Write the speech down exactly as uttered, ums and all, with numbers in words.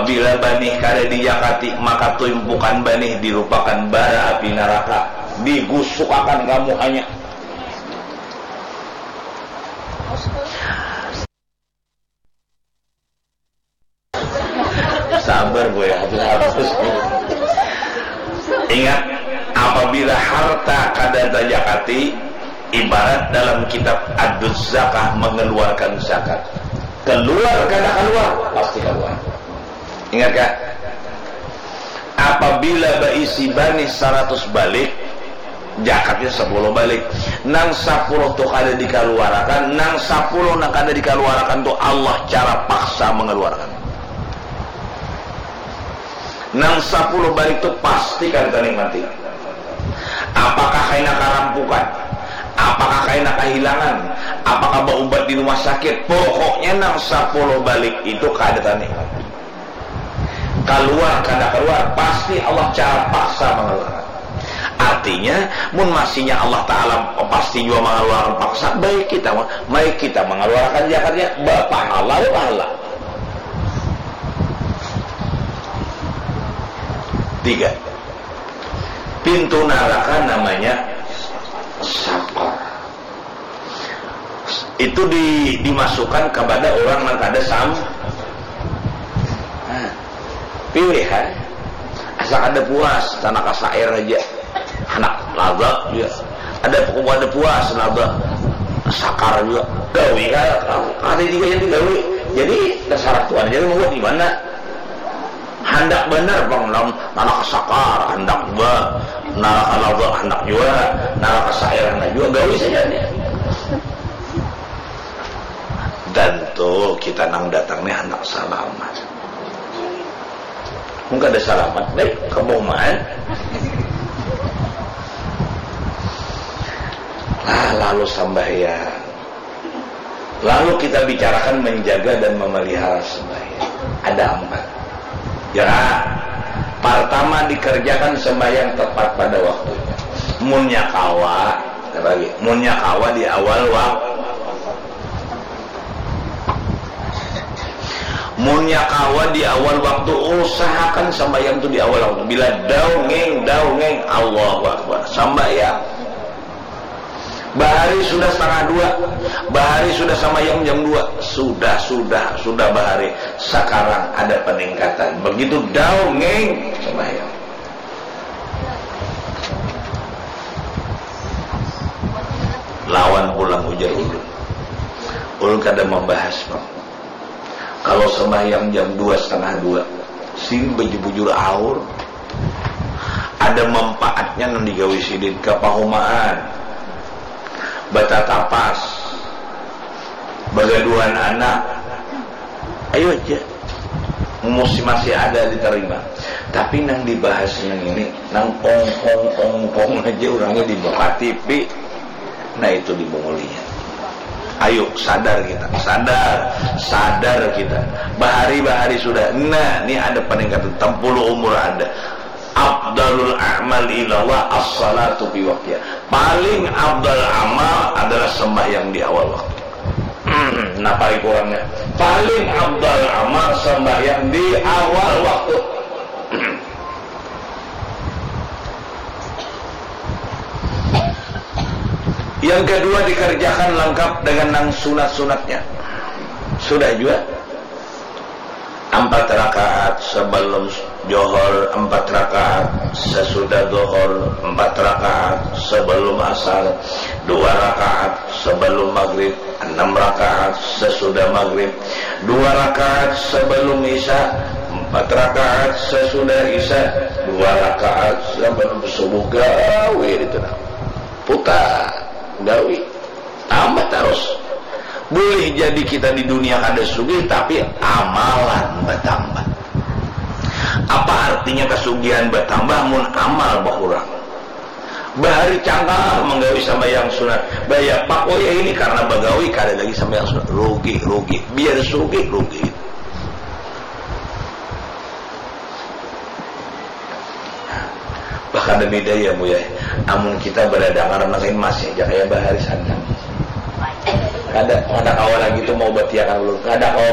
Bila banih kada dijakati, maka tumpukan banih dirupakan bara api naraka, digusukakan ka muhanya. Sabar, boy, hapus, hapus. Ingat, apabila harta kada tajakati, ibarat dalam kitab Ad-Zakah mengeluarkan zakat. Keluar kada keluar, pasti keluar. Ingat, kak? Apabila baisi banih saratus balik, jakatnya sapuluh balik. Nang sapuluh tu kada dikaluarakan, nang sapuluh nang kada dikaluarakan tu Allah cara paksa mangaluarakan. Nang sapuluh balik tu pasti kada tanikmati. Apakah kaina karampukan? Apakah kaina kahilangan? Apakah baubat di rumah sakit? Pokoknya nang sapuluh balik itu kada tanikmati. Kaluar kada kaluar, pasti Allah cara paksa mangaluarkan. Artinya, mun masihnya Allah Ta'ala pasti jua mangaluarkan paksa, baik kita, baik kita mangaluarkan jakatnya, bapahala, bapahala. Tiga, pintu naraka namanya sakar. Itu di, dimasukkan kepada orang nang kada sam-, nah, pilihan. Asa kada puas, tanah kasair aja. Anak laba juga. Ada, kada puas, laba. Sakar juga. Gawi, kada, kada juga yang digawi. Jadi, terserah Tuhan aja mau di mana. Handak banar pang, nang naraka sakar, handak jua naraka laba, handak jua naraka sair, handak jua gawi saja nih. Dan tuh, kita nang datang nih handak salamat. Mun kada salamat, baik, kaboman. Lah, lalu sambahyang. Lalu kita bicarakan menjaga dan memelihara sembahyang. Ada empat. Ya, pertama dikerjakan sembahyang tepat pada waktunya. Munnya kawa, apa lagi? Munnya kawa di awal waktu. Munnya kawa di awal waktu, usahakan sembahyang tu di awal waktu. Bila daungeng, daungeng, Allahu Akbar. Sembahyang. Bahari sudah setengah dua, bahari sudah sambayang jam dua, sudah, sudah, sudah bahari. Sekarang ada peningkatan. Begitu daungeng, sambayang. Lawan pulang ujar ulun. Ulun kada membahas, Bang. Kalau sembahyang jam dua, setengah dua, sini bujur-bujur aur. Ada manfaatnya nang digawi sidin, kapahumaan, batatapas, bagaduhan anak. Ayo aja. Musti masih ada diterima. Tapi nang dibahas nang ini, nang ongkong-ongkong aja orangnya di muka T V. Nah, itu dibungulinya. Ayo, sadar kita, sadar, sadar kita. Bahari-bahari sudah. Nah, ini ada peningkatan, tampulu umur ada. Afdalul a'mal ilallah as-salatu fi waqtiha. Paling afdal amal adalah sembahyang di awal waktu. Nah, paling kurangnya, paling afdal amal sembahyang di awal waktu. Yang kedua, dikerjakan lengkap dengan nang sunat-sunatnya. Sudah juga. Empat rakaat sebelum johor, empat rakaat sesudah johor, empat rakaat sebelum asar, dua rakaat sebelum maghrib, enam rakaat sesudah maghrib, dua rakaat sebelum isya, empat rakaat sesudah isya, dua rakaat sebelum subuh. Gawi itu nah. Putar, gawi. Tambah terus. Boleh jadi kita di dunia kada sugih, tapi amalan bertambah. Apa artinya kasugihan bertambah mun amal berkurang? Bahari cangkah menggawi sambayang sunat, bayar pakoya ini karena bagawi kada lagi sambayang sunat. Rugi, rugi. Biar sugih, rugi. Bah, kada bida ya, Bu, ya. Amun kita badadangar nang ini masih aja kaya bahari sana. Kada, kada kawa lagi tu mau batiakan ulun. Kada kawa